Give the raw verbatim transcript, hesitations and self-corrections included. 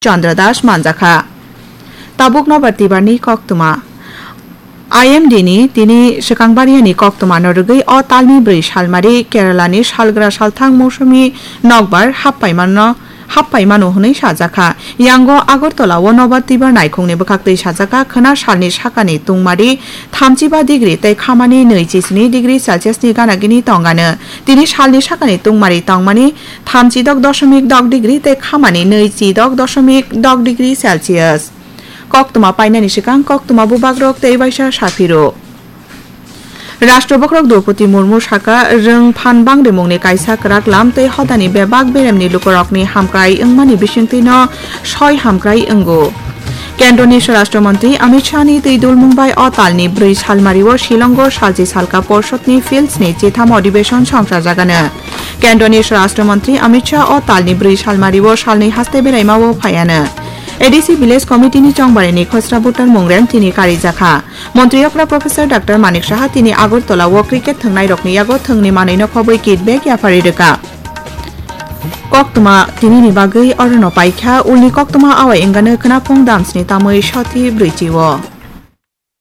Chandra Das manjakha. Tabuk nobar tibarni koktwma. I M D ni tini swkang bariani koktwma no rwgwi o talni bwrwi salmari Kerala ni salgra salthang mousomi nokbar happaimano happaimano hwnwi sajakha. Yango Agartala o nobar tibar naikhungni bwkhaktwi sajakha khwna salni sakani tungmari thamchiba degree tei khamani nwi chisni degree Celsius ni gana gini tongano. Tini salni sakani tungmari tongmani thamchidok doshomik dok degree tei khamani nwi chidok doshomik dok degree Celsius. Koktwma painani swkang koktwma bubagrok tei waisa saphiro. Rashtra bokhorok Droupadi Murmu saka, rwng phan bangrimungni kaisa kwrak lam tei hodani bebak beremni lukurokni hamkrai wngmani bisingtwino soi hamkrai wngo. Kendroni Swarashtra Montri Amit Shah ni twi dulmung bai o talni bwrwi salmario Shillongo salchi salka porshotni fields ni chitham adhibeshon songchajagano. Kendroni Swarashtra Montri Amit Shah o talni bwrwi salmario salnwi haste beraimao phaiano. A D C Village Committee ni chongbarini khosra butar mungrem tini karijakha. Montri okra Professor Doctor Manik Saha tini Agartala o cricket thwngnairokni yago thwngni manwino khobwi kit bag yapharwi rwkha. Koktwma tinini bagwi orono paikha, ulni koktwma awai wngano khwnaphung damsni tamwi soti brwichi o.